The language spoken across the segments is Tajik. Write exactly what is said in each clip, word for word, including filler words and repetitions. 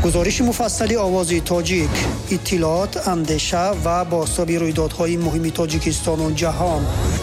Гузориши муфассали Овози Тоҷик, иттилоот, андеша ва бозтоби рӯйдодҳои муҳими Тоҷикистону ҷаҳон.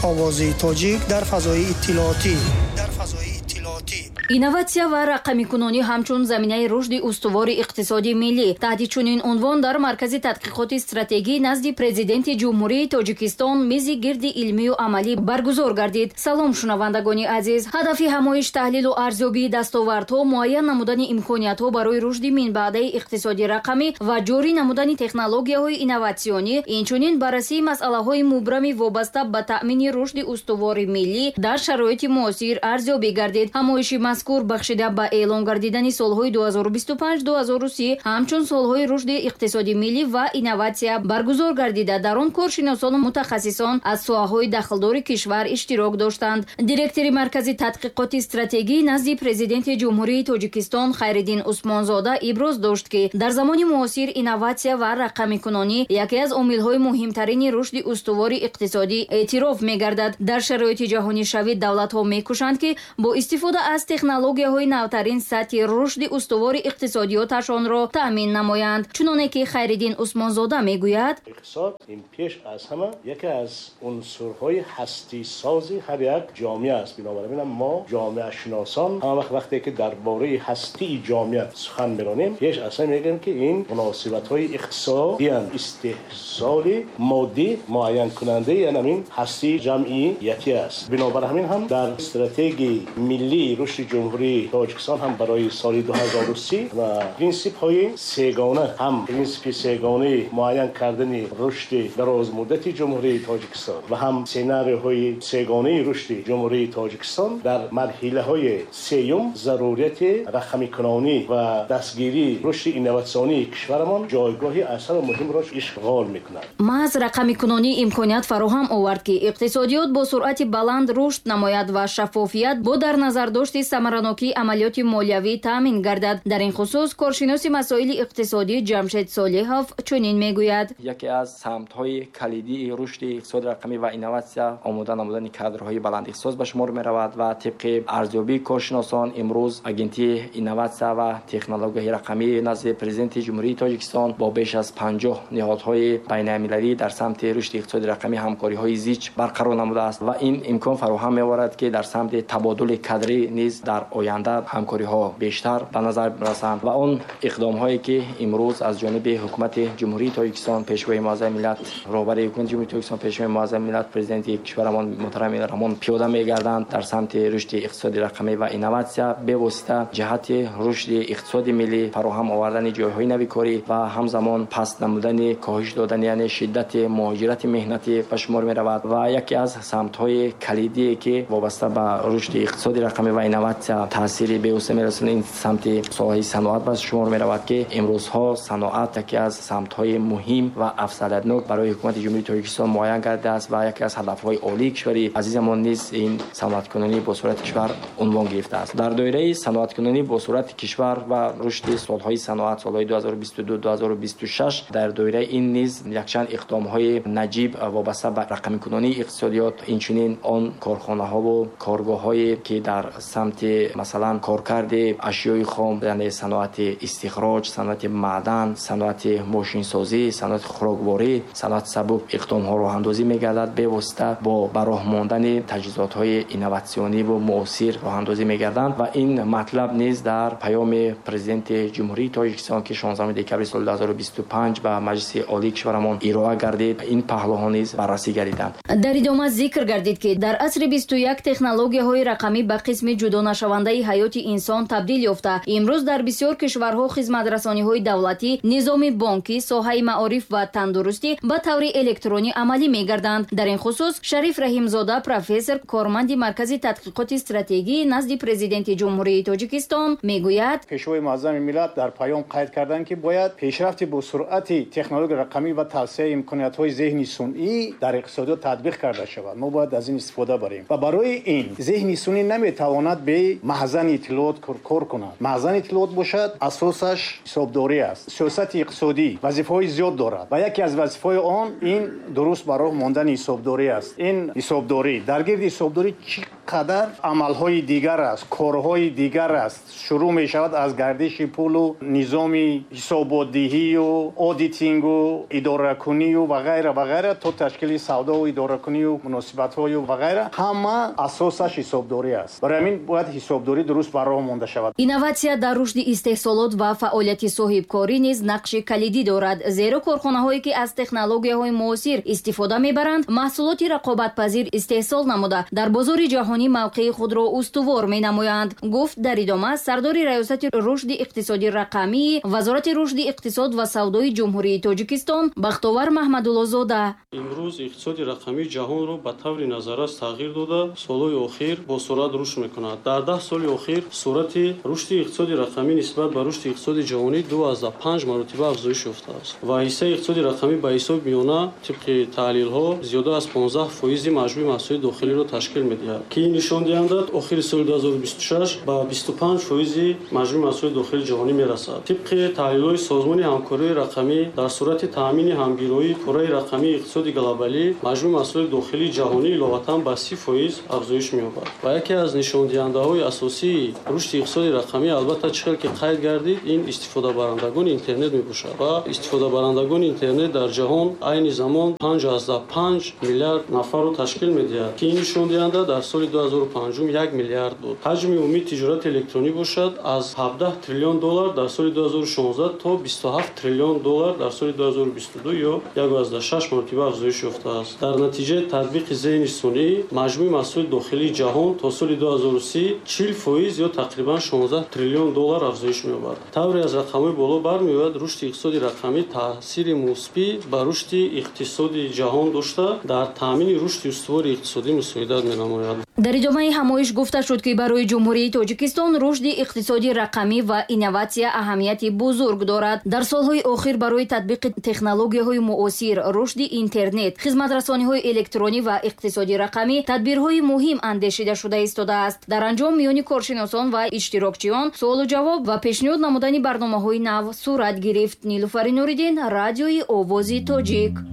Овози Тоҷик дар фазои иттилоотӣ. Дар фазои иттилоотӣ. Инноватсия ва рақамикунонӣ ҳамчун заминаи рушди устувори иқтисоди миллӣ. Таҳти чунин унвон дар Маркази тадқиқоти стратегӣ назди Президенти Ҷумҳурии Тоҷикистон мизи гирди илмию амалӣ баргузор гардид. Салом, шунавандагони азиз. Ҳадафи ҳамоиш таҳлилу арзёбии дастовардҳо, муайян намудани имкониятҳо барои рушди минбаъдаи иқтисоди рақамӣ ва ҷорӣ намудани технологияҳои инноватсионӣ, инчунин баррасии масъалаҳои мубрами вобаста ба таъмини рушди устувори миллӣ дар шароити муосир арзёбӣ гардид. Ҳамоиши мазкур бахшида ба эълон гардидани солҳои ду ҳазору бисту панҷ ду ҳазору си ҳамчун солҳои рушди иқтисоди миллӣ ва инноватсия баргузор гардида, дар он коршиносону мутахассисон аз соҳаҳои дахлдори кишвар иштирок доштанд. Директори Маркази тадқиқоти стратегӣ назди Президенти Ҷумҳурии Тоҷикистон Хайриддин Усмонзода иброз дошт, ки дар замони муосир инноватсия ва рақамикунонӣ яке аз омилҳои муҳимтарини рушди устувори иқтисодӣ эътироф мегардад. Дар шароити ҷаҳонишавӣ давлатҳо мекӯшанд, ки бо истифода аз технологияҳои навтарин сатҳи рушди устувори иқтисодиёташонро таъмин намоянд. Чуноне ки Хайриддин Усмонзода мегӯяд: иқтисод ин пеш аз ҳама яке аз унсурҳои ҳастисози ҳар як ҷомеа аст. Бинобар ин мо ҷомеашиносон ҳама вақт вақте ки дар бораи ҳастии ҷомеа сухан меронем, пеш аз ҳама мегӯем, ки ин муносибатҳои иқтисодиянд, истеҳсоли моддӣ муайянкунандаи ҳамин ҳастии ҷамъиятӣ аст. Бинобар ҳамин ҳам дар стратегияи миллии рушди Ҷумҳурии Тоҷикистон ҳам барои соли ду ҳазору си ва принсипҳои сегона, ҳам принсипи сегонаи муайян кардани рушди дарозмуддати Ҷумҳурии Тоҷикистон ва ҳам сценарийҳои сегонаи рушди Ҷумҳурии Тоҷикистон дар марҳилаҳои сеюм зарурияти рақамикунонӣ ва дастгирии рушди инноватсионии кишварамон ҷойгоҳи асар муҳимро ишғол мекунад. Маҳз рақамикунонӣ имконият фароҳам овард, ки иқтисодиёт бо суръати баланд рушд намояд ва шаффофият бо дар назардошти самаранокии амалиёти молиявӣ таъмин гардад. Дар ин хусус коршиноси масоили иқтисодӣ Ҷамшед Солиҳов чунин мегӯяд: яке аз самтҳои калидии рушди иқтисоди рақамӣ ва инноватсия омода намудани кадрҳои баландихтисос ба шумор меравад ва тибқи арзёбии коршиносон имрӯз Агентии инноватсия ва технологияи рақамӣ назди Президенти Ҷумҳурии Тоҷикистон бо беш аз панҷоҳ ниҳодҳои байналмилалӣ дар самти рушди иқтисоди рақамӣ ҳамкориҳои зич барқарор намудааст ва ин имкон фароҳам меоварад, ки дар самти табодули кадрӣ низ дар оянда ҳамкориҳо бештар ба назар расанд ва он иқдомҳое ки имрӯз аз ҷониби Ҳукумати Ҷумҳурии Тоҷикистон, Пешвои Муаззами миллат, роҳбари Ҳукумати Ҷумҳурии Тоҷикистон, Пешвои Муаззами миллат, Президенти кишварамон муҳтарам Раҳмон пиёда мегарданд дар самти рушди иқтисоди рақамӣ ва инноватсия бевосита ҷиҳати рушди иқтисоди миллӣ, фароҳам овардани ҷойҳои нави корӣ ва ҳамзамон паст намудани, коҳиш додани яъне шиддати муҳоҷирати меҳнатӣ ба шумор меравад ва яке аз самтҳои калидие ки вобаста ба рушди иқтисоди рақамӣ ва инноватсия таъсири бевосита мерасонад, ин самти соҳаи саноат ба шумор меравад, ки имрӯзҳо саноат яке аз самтҳои муҳим ва афзалиятнок барои Ҳукумати Ҷумҳурии Тоҷикистон муайян гардидааст ва яке аз ҳадафҳои олии кишвари азизамон низ ин саноаткунонӣ бо суръати кишвар унвон гирифтааст. Дар доираи саноаткунонӣ бо суръати кишвар ва рушди солҳои саноат солҳои ду ҳазору бисту ду ду ҳазору бисту шаш дар доираи ин низ якчанд иқдомҳои наҷиб вобаста ба рақамикунонии иқтисодиёт, инчунин он корхонаҳову коргоҳҳое ки дар самти масалан коркарди ашёи хом, яъне саноати истихроҷ, саноати маъдан, саноати мошинсозӣ, саноати хӯрокворӣ, саноати сабук иқдомҳо роҳандозӣ мегардад, бевосита бо ба роҳ мондани таҷҳизотҳои инноватсиониву муосир роҳандозӣ мегарданд ва ин матлаб низ дар паёми Президенти Ҷумҳурии Тоҷикистон, ки шонздаҳуми декабри соли ду ҳазору бисту панҷ ба Маҷлиси Олии кишварамон ироа гардид, ин паҳлӯҳо низ баррасӣ гардиданд. Дар идома зикр гардид, ки дар асри бисту як технологияҳои рақамӣ ба қисми ҷудонашавандаи ҳаёти инсон табдил ёфта, имрӯз дар бисёр кишварҳо хизматрасониҳои давлатӣ, низоми бонкӣ, соҳаи маориф ва тандурустӣ ба таври электронӣ амалӣ мегарданд. Дар ин хусус Шариф Раҳимзода, профессор, корманди Маркази тадқиқоти стратегӣ назди Президенти Ҷумҳурии Тоҷикистон мегӯяд: Пешвои Муаззами миллат дар паём қайд карданд, ки бояд пешрафти бо суръати технологияи рақамӣ ва тавсеаи имкониятҳои зеҳни сунъӣ дар иқтисодиёт татбиқ карда шавад. Мо бояд аз ин истифода барем ва барои ин зеҳни сунъӣ наметавонад бе маҳзани иттилоот кор кунад. Маҳзани иттилоот бошад, асосаш ҳисобдорӣ аст. Сиёсати иқтисодӣ вазифаҳои зиёд дорад ва яке аз вазифаҳои он ин дуруст ба роҳ мондани ҳисобдорӣ аст. Ин ҳисобдорӣ, дар гирди ҳисобдорӣ чӣ қадар амалҳои дигар аст, корҳои дигар аст. Шурӯъ мешавад аз гардиши пулу низоми ҳисоботдиҳию аудитингу идоракунию ва ғайра ва ғайра то ташкили савдову идоракунию муносибатҳою ва ғайра. Ҳама асосаш ҳисобдорӣ аст. Барои ҳамин бояд ҳисобдорӣ дуруст ба роҳ монда шавад. Инноватсия дар рушди истеҳсолот ва фаъолияти соҳибкорӣ низ нақши калидӣ дорад, зеро корхонаҳое ки аз технологияҳои муосир истифода мебаранд, маҳсулоти рақобатпазир истеҳсол намуда дар бозори ҷаҳонӣ мавқеи худро устувор менамоянд, гуфт дар идома сардори раёсати рушди иқтисоди рақамии Вазорати рушди иқтисод ва савдои Ҷумҳурии Тоҷикистон Бахтовар Маҳмадуллозода. Имрӯз иқтисоди рақамии ҷаҳонро ба таври назаррас тағйир дода, солҳои охир бо суръат рушд мекунад. Дар даҳ соли охир суръати рушди иқтисоди рақамӣ нисбат ба рушди иқтисоди ҷаҳонӣ ду аз панҷ маротиба афзоиш ёфтааст ва ҳиссаи иқтисоди рақамӣ ба ҳисоби миёна тибқи таҳлилҳо зиёда аз понздаҳ фоизи маҷмӯи маҳсулоти дохилиро ташкил медиҳад, ки ин нишондиҳанда охири соли ду ҳазору бисту шаш ба бисту панҷ фоизи маҷмӯи маҳсулоти дохилии ҷаҳонӣ мерасад. Тибқи таҳлилҳои Созмони ҳамкориҳои рақамӣ дар сурати таъмини ҳамгироии пурраи рақамии иқтисоди глобалӣ маҷмӯи маҳсулоти дохилии ҷаҳонӣ иловатан ба си фоиз афзоиш меёбад ва яке аз нишондиҳандаҳои асосии рушди иқтисоди рақамӣ албатта чӣ хел ки қайд гардид, ин истифодабарандагони интернет мебошад ва истифодабарандагони интернет дар ҷаҳон айни замон панҷ аз панҷ миллиард нафарро ташкил медиҳад, ки ин нишондиҳанда дар соли ду ҳазору панҷум як миллиард буд. Ҳаҷми умумии тиҷорати электронӣ бошад аз ҳабдаҳ триллион доллар дар соли ду ҳазору шонздаҳ то бисту ҳафт триллион доллар дар соли ду ҳазору бисту ду ё як аз шаш маротиба афзоиш ёфтааст. Дар натиҷаи татбиқи зеҳни сунъӣ маҷмӯи маҳсулоти дохилии ҷаҳон то соли ду ҳазору си чил фоиз ё тақрибан шонздаҳ триллион доллар афзоиш меёбад. Тавре аз рақамҳои боло бармеояд, рушди иқтисоди рақамӣ таъсири мусбӣ ба рушди иқтисоди ҷаҳон дошта, дар таъмини рушди устувори иқтисодӣ мусоидат менамояд. Дар идомаи ҳамоиш гуфта шуд, ки барои Ҷумҳурии Тоҷикистон рушди иқтисоди рақамӣ ва инноватсия аҳамияти бузург дорад. Дар солҳои охир барои татбиқи технологияҳои муосир, рушди интернет, хизматрасониҳои электронӣ ва иқтисоди рақамӣ тадбирҳои муҳим андешида шуда истодааст. Дар анҷом миёни коршиносон ва иштирокчиён суолу ҷавоб ва пешниҳод намудани барномаҳои нав сурат гирифт. Нилуфари Нуриддин, радиои Овози Тоҷик.